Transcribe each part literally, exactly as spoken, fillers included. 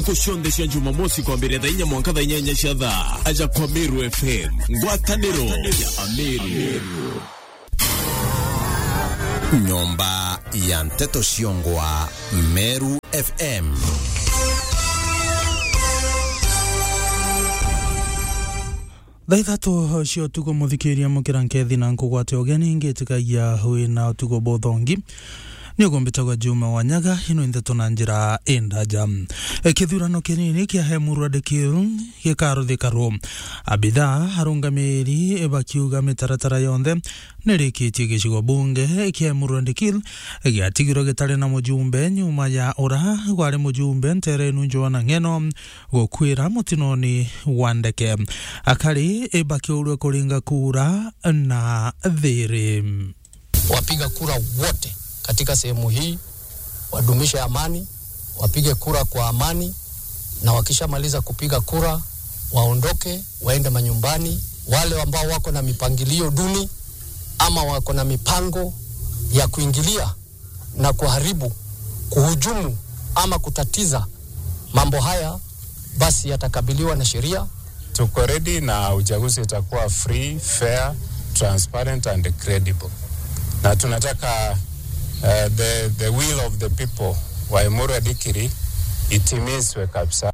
Ntuku cionthe cia Jumamosi kwambiria thaa inya mwanka thaa inyanya cia thaa, aja kwa Meru F M, ngwataniro ya Ameru. Nyomba ya nteto ciongwa, Meru F M. Thaa ithatu cia utuku, muthikiria, mukira nkethi na nkugwate ugeni, ngitikagia wina utuku buthongi. Ni ugumbitagwa Juma wa Nyaga, ino ndeto na njira indaja. E, kithurano kinini kia Emurua Dikirr gikaruthikirwo. Abitha arungamiri bakiuga mitaratara yonthe nirikitie gicigo bunge kia Emurua Dikirr giatigirwe gitari na mujumbe nyuma ya ura gwari mujumbe nterenu Joanna Ng'eno gukwira mutinoni wa ndeke. Akari bakiurwe kuringa kura na thiri. Wapiga kura wote katika sehemu hii wadumishe amani, wapige kura kwa amani, na wakishamaliza kupiga kura, waondoke, waende manyumbani. Wale ambao wako na mipangilio duni ama wako na mipango ya kuingilia na kuharibu, kuhujumu ama kutatiza mambo haya, basi yatakabiliwa na sheria. Tuko ready na uchaguzi itakuwa free, fair, transparent and credible. Na tunataka, eh, the, the will of the people wa Emurua Dikirr itimizwe kabisa.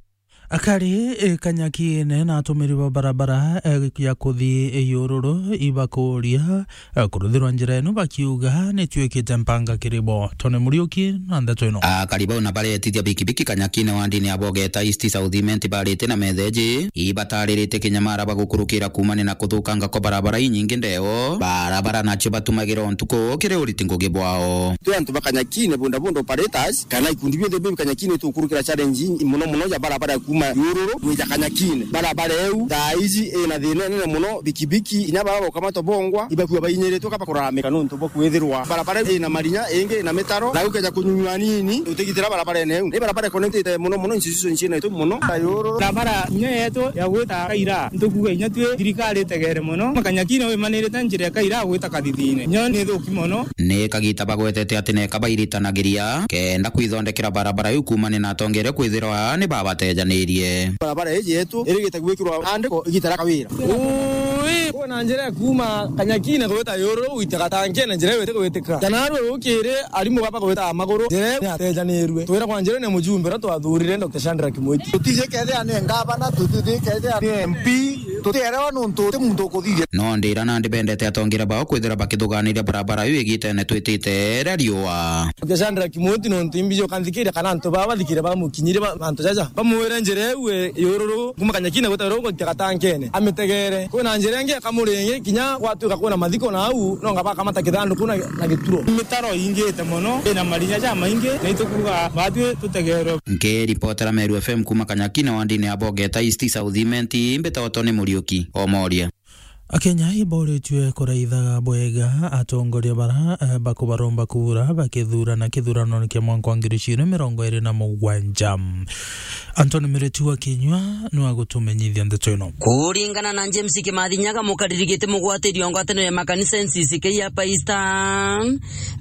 Akari, e, Kanyakine na atumiri ba barabara, e, ya kuthi Yururu ibakuria, e, kuruthirwa njira ino bakiuga nituikite mpanga kiri bo. Tony Muriuki na ndeto ino. Akari bau na baretithia bikibiki Kanyakine wandini ya Bogeta East South Imenti barite na metheji ibataririte kinyamara bagukurukira kumania na kuthukanga kwa barabara inyingi ndeo. Barabara nacio batumagira o ntuku kiri uriti ngugi bwao. Twi antu ba Kanyakine, bodaboda operators, kana ikundi bionthe biu bi Kanyakine, tukurukira challenge i-, mono mono ya barabara ya kuuma Yururu gwija Kanyakine. Barabara iu thaa ici ina thina inene mono, bikibiki, inya bara baukamata bongwa, ibakua bainyiritwe kaba kuraramika nontu bwa kwithirwa barabara iu ina marinya, ingi ina mitaro, na ukeja kunyunyua nini, utigitira barabarene iu. Ni barabara ikonetite mono mono institution ciina itu mono. Ta Yururu. Barabara inya yetu ya gwita Kaira, ntukuga inya twi thirikari itegere mono. Makanyakine wimanirite njira ya Kaira gwita Kathithine. Nyo ni thuki mono. Ni kagita bagwetete ati neka bairitanagiria kenda kwithondekera barabara iu kumania na atongeria kwithirwa ni babatejanirie. Barabara iji yetu irigite gwikirwa andiko igita ria Kawira. Ui, kwina njira ya kuuma Kanyakine gwita Yururu gwita Gatankene, njira iu itigwitika. Kana rwe rukiri arimu baba gwita maguru, njira iu ni yatejanirue. Twiragwa njira ni mujumbe uria twathurire, Doctor Shadrack Mwiti. Tutiji kethia ni ngavana, tutiji kethia ni M P, tutierewa nontu ti muntu ukuthithia. No ndira nandi bendete atongeria bao kwithira bakithuganiria barabara iu igitene twitite ria riua. Ukichandira Kimoti nontu imbi jo kanthikire kana antu baba bathikire bamukinyire ba-, mantu jaja. Bamwire njira iu e, Yururu, kuma Kanyakine gwita Yururu gwitia Gatankene. Amitegere. Kwina njira ingi ya Kamuringi, kinya gwatuika kwina mathiko na au, nonga bakamata kithanduku na, na gituro. Mitaro ingite mono, ina marinya jamaingi, na itukuga batwi tutegerwe. Nkiripotera Meru F M kuma Kanyakine wandini ya Bogeta East South Imenti, mbitagwa Tony Muriuki, Omoria. Akenya iboritue kuraitha bwega atongoria bara, eh, bakubaromba kura bakithurana kithurano kia mwanka wa ngiri igiri na mirongo iri na mugwanja. Anthony Mireti wa Kinyua niwe agutumenyithia ndeto ino. Kuringana na James Kimathi Nyaga, mukariri giti mugwatiri o ngwataniro ya makanisa N C C K ya Paista,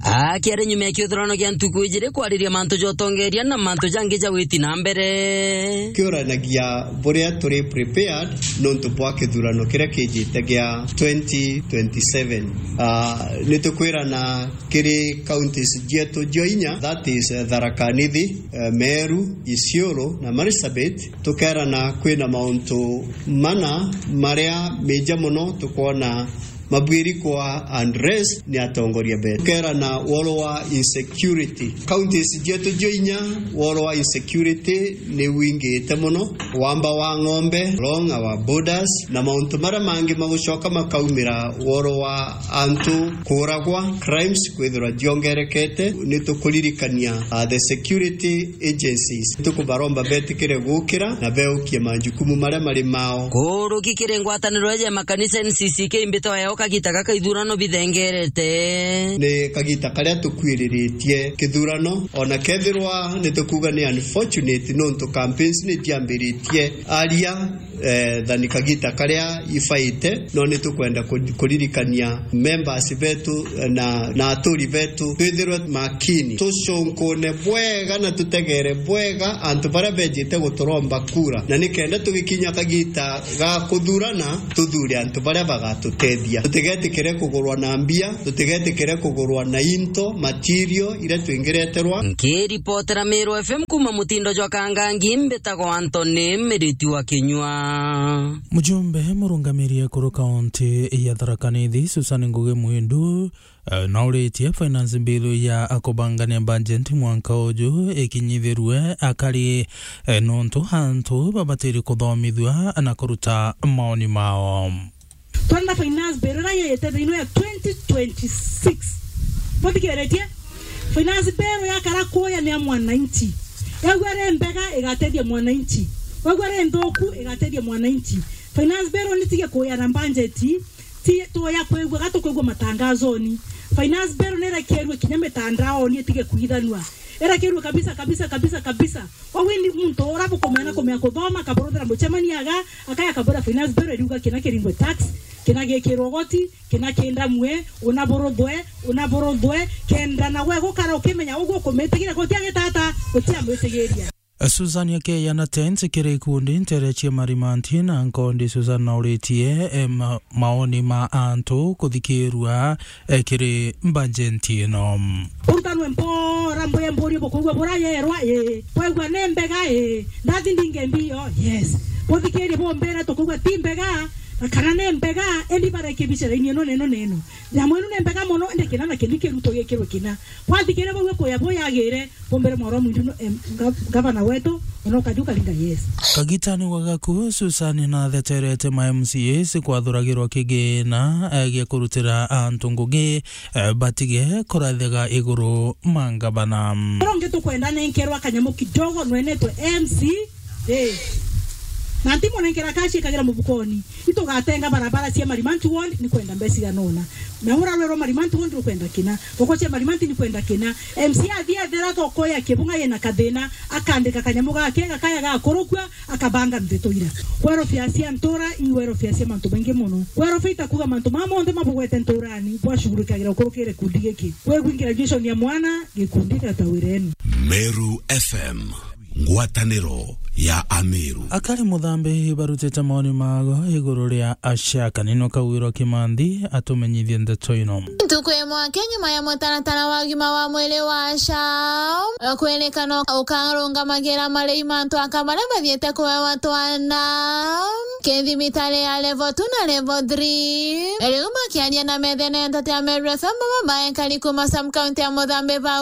akiaria nyuma ya kithurano kia ntuku ijiri kwariria mantu ja utongeria na mantu jangi ja witi na mbere. Kiuranagia buria turi prepared nontu bwa kithurano kiria kijite gia twenty twenty-seven. Ah, nitukwirana kiri counties jietu jio inya, that is, eh, Tharaka Nithi, eh, Meru, Isiolo na Marsabit. Tukerana kwina mauntu mana maria meja mono tukwona mabwiri kwa address ni atongoria betu. Tukerana woro wa insecurity. Counties jietu jio inya, woro wa insecurity ni wingite mono. Wamba wa ng'ombe, along our borders, na mauntu maria mangi magucoka makaumira woro wa antu kuragwa, crimes kwithirwa jiongerekete. Ni tukuririkania, uh, the security agencies. Tukubaromba betikire gukira na beukie majukumu maria mari mao. Kuruki kiri ngwataniro ya makanisa N C C K mbito ya Kagita gaka ithurano bithengerete. Ni kagita karia tukwiriritie kithurano, ona kethirwa ni tukuuga ni unfortunate, nontu campaigns ni ciambiritie aria, eh, than kagita karia ibaite, no ni tukwenda ku-, kuririkania members betu, eh, na, na aturi betu, twithirwe makini, tucunkune bwega na tutegere bwega antu baria bejite guturomba kura, na nikenda tugikinya kagita ga kuthurana, tuthure antu baria bagatutethia. Tutigetikire kugurwa na mbia, tutigetikire kugurwa na into, material iria twingireterwa. Nkiripotera Meru F M kuuma mutindo jwa Kangangi, mbitagwa Anthony Miriti wa Kinyua. Mujumbe murungamiri ekuru kaunti ya Tharaka Nithi, Susan Ngugi Mwindu, eh, nauritie finance bill ya akubangania budget mwanka uju ikinyithirue akari, eh, nontu antu babatiri kuthomithua na kuruta maoni mao. Twenda finance bill iria yete thiini ya twenty twenty-six. Buthikiretie? Finance bill yakara kuya ni ya mwananchi. Wegua ri mbega igatethia mwananchi. Wegua ri nthuku igatethia mwananchi. Finance bill ni tige kuya na budget. Ti tuya kwigua, ga tukwigua matangazoni. Finance bill ni irekerue kinya mitandaoni itige kuithanua. Irekerue kabisa, kabisa, kabisa, kabisa. Koguo ni muntu ura bukumenya kumenya kuthoma, akaburuthira mucemania aga, akaya akabura finance bill iriuga kina kiringwe tax, kina gikirwe goti, kina kindamue, una buruthwe, una buruthwe, kenda nawe gukara ukimenya uguo ukumitigira gutia gitata, gutia mwitigiria. Susan Akeya na Tens kiri ikundi ntere cia Marimanti na Nkondi. Susan nauritie, eh, ma-, maoni ma antu kuthikirua, eh, kiri mbajenti ino. Urutanwe mpora, mbwe mburie bukuigua bura yerwa, ii. Bwaigua ni mbega, ii. Ndathi ndinge mbio, yes. Buthikirie bumbire tukuigua ti mbega, na kana ni mbega, endi bareke bicaraini ino neno neno. Nyamu ino ni mbega mono, indi kina na kindi kiruto gikirwe kina. Bwathikiria bau kuya buyagire, bumbire mwarwa mwindu no, em, ga-, gavana wetu, ona ukathi ukaringa yes. Kagitani wa gaku, Susan natheterete ma M C As kwathuragirwa kigina, eh, gia kurutira antu ngugi, eh, batige kurathega iguru ma ngavana. Ronge tukwenda nenkerwa kanyamu kidogo nwenetwe M C A. Na ntimunenkera kashi ikagira mubukoni. Itugatenga barabara cia Marimanti Ward, ni kwenda mbeca igana ona. Na ura rwerwa Marimanti Ward ni kwenda kina. Thoko cia Marimanti ni kwenda kina. M C A athi ethera thoko ya Kibunga yina kathina, akandika kanyamu gake, gakaya gakurukua, akabanga ndeto ira. Kwerofia cia ntura, i werofia cia mantu maingi mono. Kwerofia itakuga mantu maa monthe mabugwete nturani, bwashugurikagira ukurukire gikundi giki. Kwigwi graduation ya mwana, gikundi gata wirenu. Meru F M. Ngwataniro ya Ameru. Akari Muthambi barutite maoni mago iguru ria acia kanino kau wirwa Kimanthi atumenyithie ndeto ino. Ntuku imwe aki nyuma ya mutaratara wa ugima wa mwiri wa SHA kwirikana ukarungamagira marei mantu aka maria mathiite kuewa twana, kithimi tari ya level two na level three. Riu makiaria na methene ya Nteto ya Meru F M, baba baekari kuma sub county ya Muthambi ba